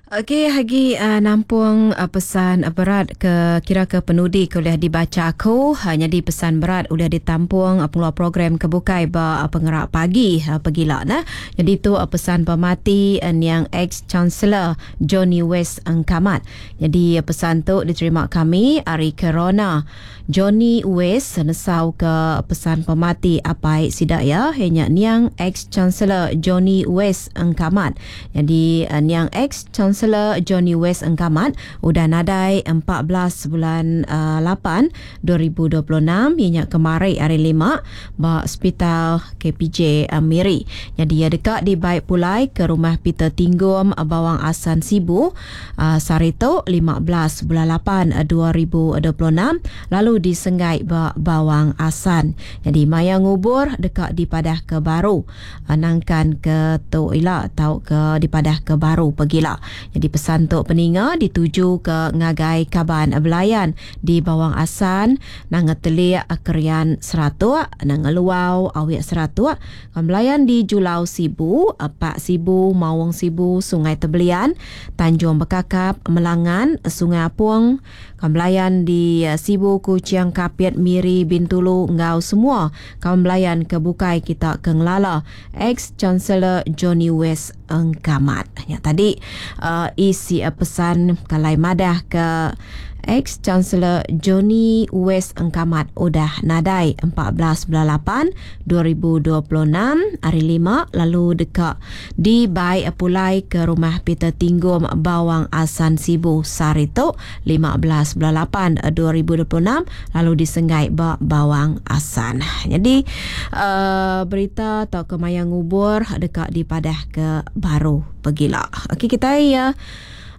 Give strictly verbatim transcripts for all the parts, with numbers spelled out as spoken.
Okey, agi uh, nampung uh, pesan uh, berat ke kira ke penudi ke ulih dibacha aku. Uh, nyadi pesan berat ulih ditampung uh, pengeluar program ke bukai ba uh, pengerak pagi uh, pegila nah. Jadi tu uh, pesan pemati uh, niang ex-chancellor Johnny West Engkamat. Jadi uh, pesan tu diterima kami ari Corona. Johnny West nesau ke pesan pemati apai sida ya nya niang ex-chancellor Johnny West Engkamat. Jadi uh, niang ex-chancellor Johnny West Engkamat udah nadai empat belas bulan uh, lapan dua ribu dua puluh enam ianya kemari hari lima ba hospital K P J uh, Miri. Jadi ia dekat dibaik pulai ke rumah Peter Tinggom Bawang Asan Sibu uh, sehari tu lima belas bulan lapan dua ribu dua puluh enam lalu disenggai ba Bawang Asan. Jadi maya ngubur dekat dipadah ke baru nangkan ke tu ila tau ke dipadah ke baru pegila. Jadi pesan tu peninga dituju ke ngagai kaban belayan di Bawang Asan nang telik Kerian Seratuk nang Luau Awik Seratuk kaban belayan di Julau Sibu, Pak Sibu, Mawang Sibu, Sungai Tebelian, Tanjung Bekakap, Melangan, Sungai Apung, kaban belayan di Sibu, Kuching, Kapit, Miri, Bintulu ngau semua kawan belayan ke bukai kita ke ngelala ex-chancellor Johnny West Engkamat. Ya tadi uh, isi uh, pesan kalai madah ke ex-chancellor Johnny West Engkamat udah nadai empat belas bulan lapan dua ribu dua puluh enam hari lima lalu dekat dibai pulai ke rumah Peter Tinggom Bawang Asan Sibu sehari tu lima belas bulan lapan dua ribu dua puluh enam lalu disenggai ba Bawang Asan. Jadi uh, berita atau ke maya ngubur dekat dipadah ke baru pegila. Okey, kita ya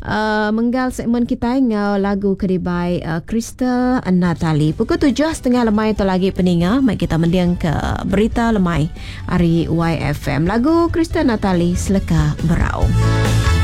Uh, menggal segmen kita ngau lagu kedibai uh, Crystal Natalie. Pukul tujuh setengah lemai tu lagi peninga, mai kita mendiang ke berita lemai hari Y F M. Lagu Crystal Natalie Seleka Berau.